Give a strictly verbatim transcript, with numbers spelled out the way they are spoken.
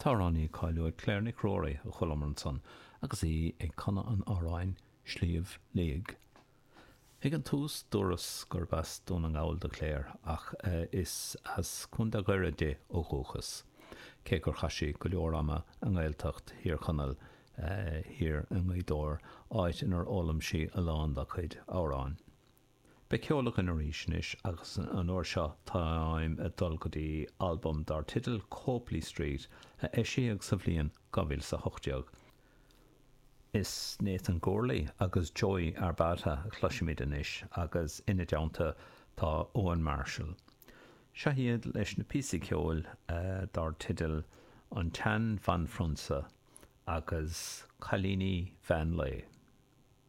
Amhránaí cáiliúil Claire Nic Ruairí a chualamar ansan agus í ag canadh an amhráin Sliabh Liag. Ag an tús dúras gurb as Dún na nGall do Claire ach is as Contae Dhoire di ó dhúchas, cé gur chaith sí go leor ama i nGaeltacht Thír Chonaill thiar i nGaoth Dobhair, áit inar fhoghlaim sí a lán dá cuid amhrán. Beidh ceol againn arís anois agus an uair seo táim ag dul go dtí albam dar teideal Copeley Street a eisíodh sa bhliain dhá mhíle is a hocht déag. Is Nathan Gourley agus Joey Arbata a chloisfimid anois agus ina dteannta tá Owen Marshall. Seo iad leis na píosaí ceoil dar teideal An tSean-Bhanphrionsa agus Cailíní Mheán Lae.